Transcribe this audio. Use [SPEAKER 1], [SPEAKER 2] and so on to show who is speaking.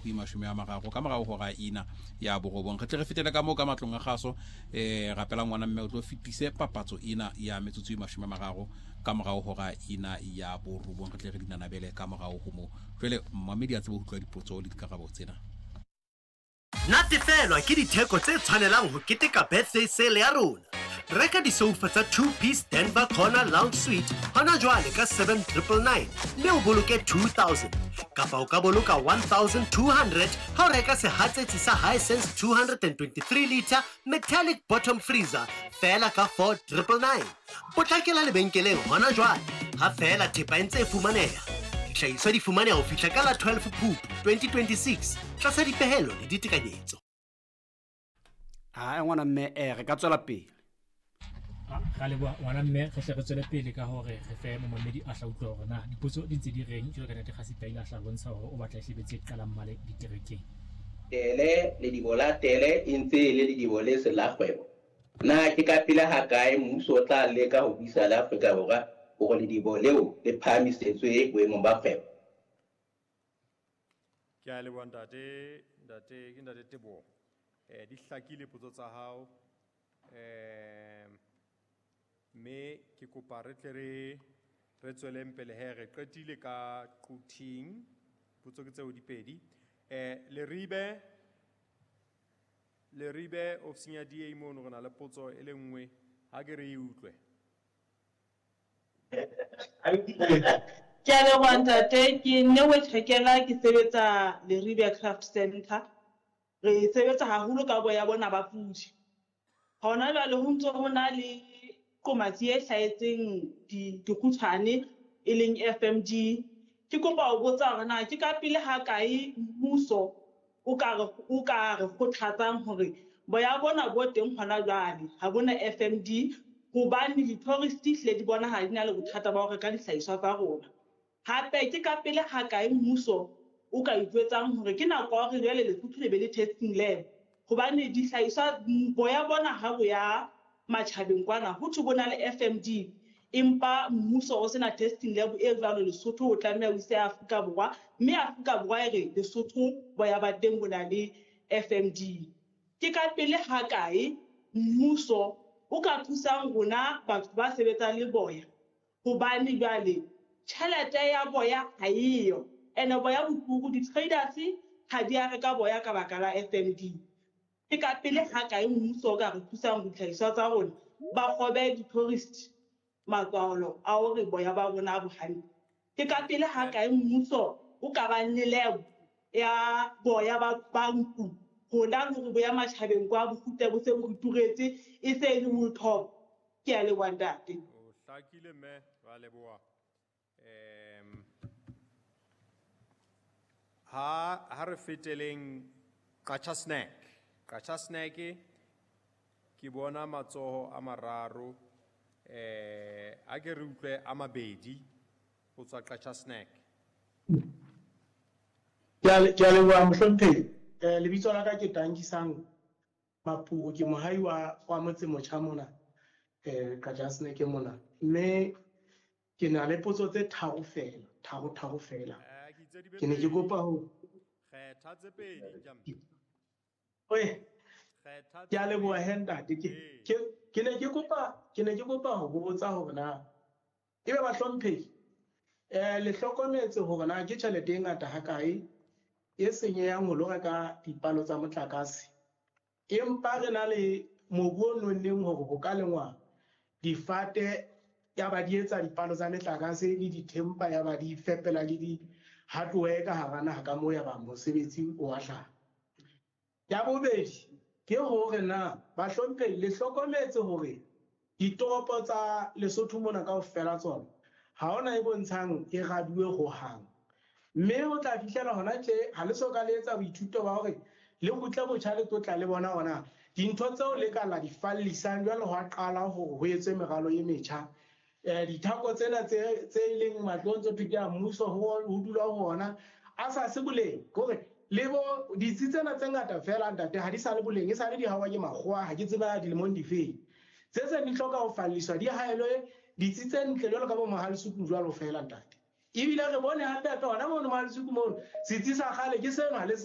[SPEAKER 1] go 30 ka morago hora ina ya borobong. Re tle re fetele ka moo ka matlong a gaso, rapela ngwana mme o tlo fetise papatso ena ya metsotso e 30 ka morago hora ina ya borobong. Re tle re dinanabele ka morago ho moo. Jwale mmamedi a tsebe ho utlwa dipotso le dikarabo tsena.
[SPEAKER 2] Natefelwa ke ditheko tse tshwanelang ho keteka birthday sale ya rona. Reka disoufa tsa 2-piece Denver Corner Lounge Suite hona jwale ka 7999 mme o boloke 2000, kapa o ka boloka 1200 ha o reka sehatsetsi sa Hisense 223 liter metallic bottom freezer feela ka 4999. Potlakela lebenkeleng hona jwale ha feela thepa e ntse e fumaneha. Dihlahiswa di fumaneha ho fihla ka la 12 Phupu 2026 tlasa dipehelo le ditekanyetso.
[SPEAKER 3] Ha ngwana mme, re ka tswela pele.
[SPEAKER 4] Ra leboha ngwana mme, re hle re tswele pele ka hore re fe momamedi a hla utlwa hore na dipotso di ntse di reng. Jwalo ka ntate Kgasi a hla bontsha hore o batla e hlebetse qalang male diterekeng.
[SPEAKER 5] Tele ledibo la tele e ntse e le ledibo le seng la kgwebo. Na ke ka pele hakae mmuso o tla leka ho buisa le Afrika Borwa hore ledibo leo le phahamisetswe boemong ba kgwebo?
[SPEAKER 6] Ke a leboha ntate, ntate ke ntate Teboho. Di hlakile potso tsa hao. Mme ke kopa re tle re tsweleng pele he, re qetile ka Quthing. Potso ke tseo di pedi. Leribe ofising ya DA mono re na le potso e le nngwe, ha ke re e utlwe.
[SPEAKER 7] Ke a leboha ntate, ke Nnewe Tjhekela, ke sebetsa Leribe Craft Center. Re sebetsa haholo ka boya bona ba pudi. Hona jwale ho ntso ho na le qomatsi e hlahetseng dikgutshwane e leng FMD. Ke kopa ho botsa hore na ke ka pele ha kae mmuso o ka re kgothatsang hore boya bona bo teng hona jwale ha bona FMD, hobane di-tourist hlile di bonahala di na le bothata ba ho reka dihlahiswa tsa rona. Hape ke ka pele ha kae mmuso o ka ijwetsang hore ke nako ya hore jwale Lesotho le be le testing lab, hobane dihlahiswa boya bona ha bo ya matjhabeng kwana ho thwe bo na le FMD, empa mmuso o sena testing lab e jwalo Lesotho, o tlameha o ise Afrika Borwa, mme Afrika Borwa e re Lesotho boya ba teng bo na le FMD. Ke ka pele ha kae mmuso o ka thusang rona batho ba sebetsang le boya, hobane jwale tjhelete ya boya ha eyo, ene boya bo turu, di-traders ha di a reka boya ka baka la FMD. Ke ka pele ha kae mmuso o ka re thusang ditlhahiswa tsa rona ba kgobe di-tourist matswalo a hore boya ba rona bo hantle. Ke ka pele ha kae mmuso o ka bang le lab ya boya ba nku, rona le hore boya matjhabeng kwa bo kgutle bo se bo re turetse, e se e le wool top. Ke a leboha ntate.
[SPEAKER 6] O hlakile mme, ra leboha. Ha re feteleng Qacha Snack. Qacha Snack ke bona matsoho a mararo, a ke re utlwe a mabedi ho tswa Qacha Snack.
[SPEAKER 8] Ke a leboha mohlomphehi. Lebitso la ka ke Tankisang Mapuo, ke mohai wa motse motjha mona, Qacha Snack mona. Mme ke na le potso tse tharo fela, tharo fela.
[SPEAKER 6] Ke itse di be
[SPEAKER 8] Ke ne ke
[SPEAKER 6] pedi.
[SPEAKER 8] kopa ho
[SPEAKER 6] Kgetha tse pedi, Njambi.
[SPEAKER 8] Oe.
[SPEAKER 6] Kgetha
[SPEAKER 8] Ke a
[SPEAKER 6] tse
[SPEAKER 8] leboha
[SPEAKER 6] pedi.
[SPEAKER 8] he ntate.
[SPEAKER 6] Ee.
[SPEAKER 8] Ke ne ke kopa ho botsa hore na ebe bahlomphehi, le hlokometse hore na ke tjhelete e ngata hakae e senyehang ho lo reka dipalo tsa motlakase, empa re na le mobu o nonneng hore ho ka lengwa difate ya ba di etsa dipalo tsa metlakase le dithempa ya ba di fepela le di-hardware ka hara naha ka moo ya ba mosebetsi o a hlaha. Ya bobedi ke hore na bahlomphehi le hlokometse hore ditoropo tsa Lesotho mona kaofela tsona ha hona e bontshang e raduwe hohang, mme o tla fihlela hona tje ha le so ka le etsa boithuto ba hore le kgutle botjha le tlo tla le bona hona dintho tseo le ka la di fallisang jwale ho a qala hore ho etswe meralo e metjha. Dithako tsena tse leng matlong tse thwe ke a mmuso ho dula ho ona a sa se boleng, ke hore le bo ditsi tsena tse ngata fela ntate ha di sa le boleng, e sa le di hawa ke makgowa, ha ke tseba dilemong difeng. Tse seng di hloka ho falliswa, di haelwe ditsi tse ntle jwalo ka bo Mohalesuku jwalo fela ntate. Ebile re bone hape hape hona mono Mohalesuku mono setsi sa kgale ke sena le se